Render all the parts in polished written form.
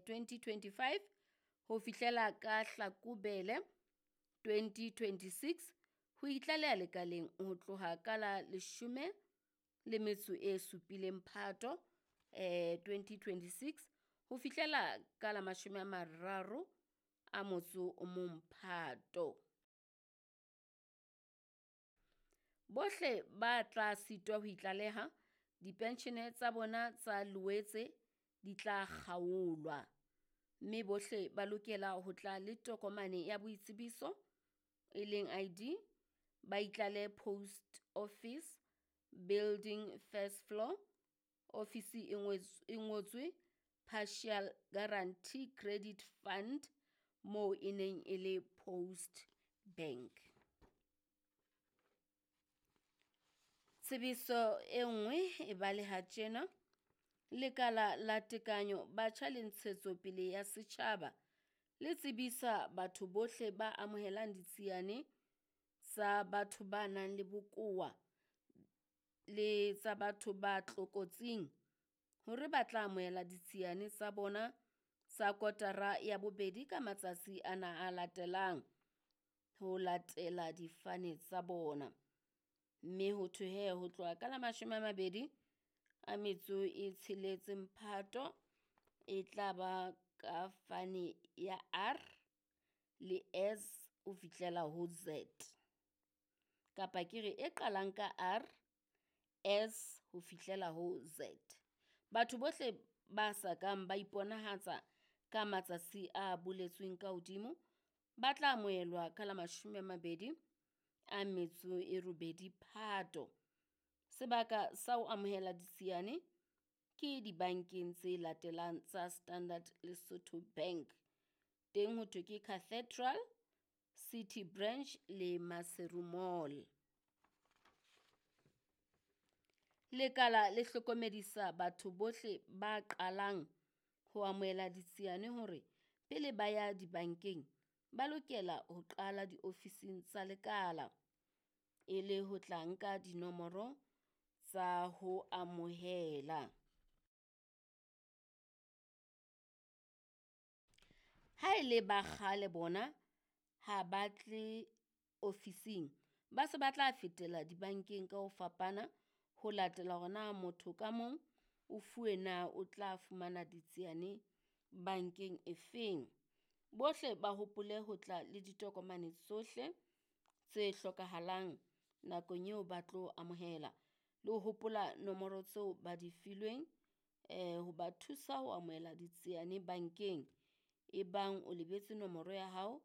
2025 ho fihlela ka Hlakubele 2026 ho itlaleha lekaleng ho tloha ka la 17 Phato 2026 ho fihlela ka la 31 Phato. Bohle ba tla sitwa ho itlaleha, dipenshene tsa bona tsa Loetse di tla kgaolwa, mme bohle ba lokela ho tla le tokomane ya boitsebiso, e leng ID, ba itlalehe Post Office Building 1st Floor, ofisi e ngotswe Partial Guarantee Credit Fund moo e neng e le Post Bank. Tsebiso e nngwe e baleha tjena, Lekala la Tekano Batjha le Ntshetsopele ya Setjhaba le tsebisa batho bohle ba amohelang ditsiane tsa batho ba nang le bokowa le tsa batho ba tlokotsing hore ba tla amohela ditsiane tsa bona tsa kotara ya bobedi ka matsatsi ana a latelang ho latela difane tsa bona. Mme ho thwe he ho tloha ka la 26 Phato e tla ba ka fane ya R le S ho fihlela ho Z. Kapa ke re e qalang ka R, S ho fihlela ho Z. Batho bohle ba sa kang ba iponahatsa ka matsatsi a boletsweng ka hodimo ba tla amohelwa ka la 28 Phato. Sebaka sa ho amohela ditsiane ke dibankeng tse latelang tsa Standard Lesotho Bank. Teng ho thwe ke Cathedral, City Branch le Maseru Mall. Lekala le hlokomedisa batho bohle ba qalang ho amohela ditsiane hore pele ba ya dibankeng ba lokela ho qala diofising tsa lekala e le ho tla nka dinomoro tsa ho amohela. Ha e le ba kgale bona ha ba tle ofising, ba se ba tla fetela dibankeng ka ho fapana ho latela hore na motho ka mong o fuwe na o tla fumana ditsiane bankeng efeng. Bohle ba hopole ho tla le ditokomane tsohle tse hlokahalang nakong eo ba tlo amohela, le ho hopola nomoro tseo ba di filweng ho ba thusa ho amohela ditsiane bankeng. Ebang o lebetse nomoro ya hao,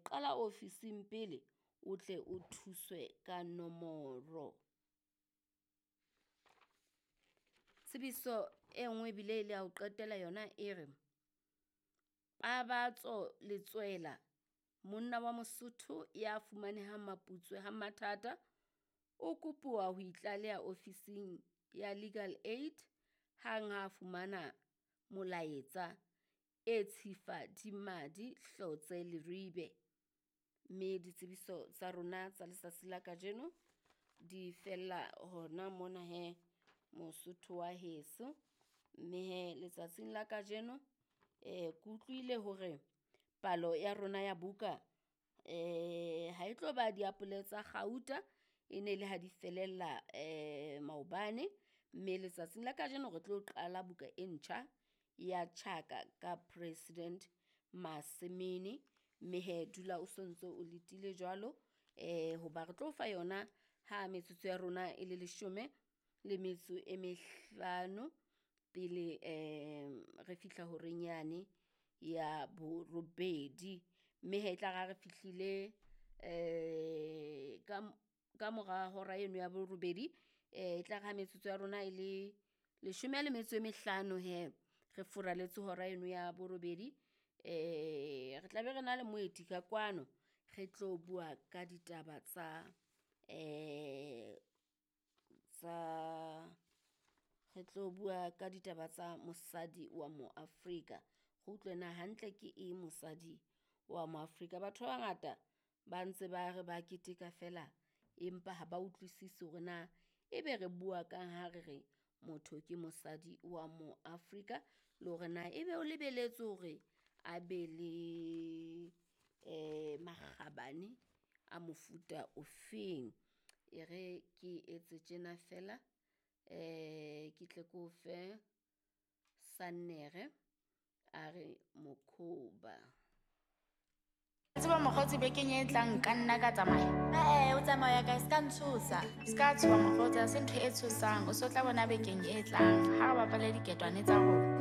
qala ofising pele o tle o thuswe ka nomoro. Tsebiso e nngwe ebile e le ya ho qetela yona e re, Pabatso Letswela, monna wa Mosotho ya fumanehang Maputswe ha Mathata, o kopuwa ho itlaleha ofising ya Legal Aid hang ha a fumana molaetsa e tshifa di madi hlotse Leribe. Mme ditsebiso tsa rona tsa letsatsi la kajeno di fella hona mona he Mosotho wa heso. Mme he letsatsing la kajeno ke utlwile hore palo ya rona ya buka ha e tlo ba diapole tsa kgauta, e ne le ha di felella maobane. Mme letsatsing la kajeno re tlo qala buka e ntjha ya Tjhaka ka President Masemene. Mme he dula o sontso o letile jwalo hoba re tlo fa yona ha metsotso ya rona e le 15 pele re fihla horeng yane ya borobedi. Mme he e tla re ha re fihlile ka mora hora eno ya borobedi, e tla re ha metsotso ya rona e le 15 he re furaletse hora eno ya borobedi, re tla be re na le moeti ka kwano re tlo bua ka ditaba tsa re tlo bua ka ditaba tsa mosadi wa mo Afrika. Re utlwe na hantle ke eng mosadi wa mo Afrika. Batho ba bangata ba ntse ba re ba keteka feela, empa ha ba utlwisisi hore na ebe re bua kang ha re re motho ke mosadi wa mo Afrika. Le hore na ebe o lebeletse hore a be le makgabane a mofuta ofeng. E re ke etse tjena feela ke tle ke o fe Sannere a re mokhoba. Tseba mokgotsi bekeng e tlang nka nna ka tsamaya. Ee, o tsamaya kae? Se ka ntshosa. Se ka tshoha mokgotsi, ha se ntho e tshosang. O so tla bona bekeng e tlang. Ha re bapale diketwane tsa rona.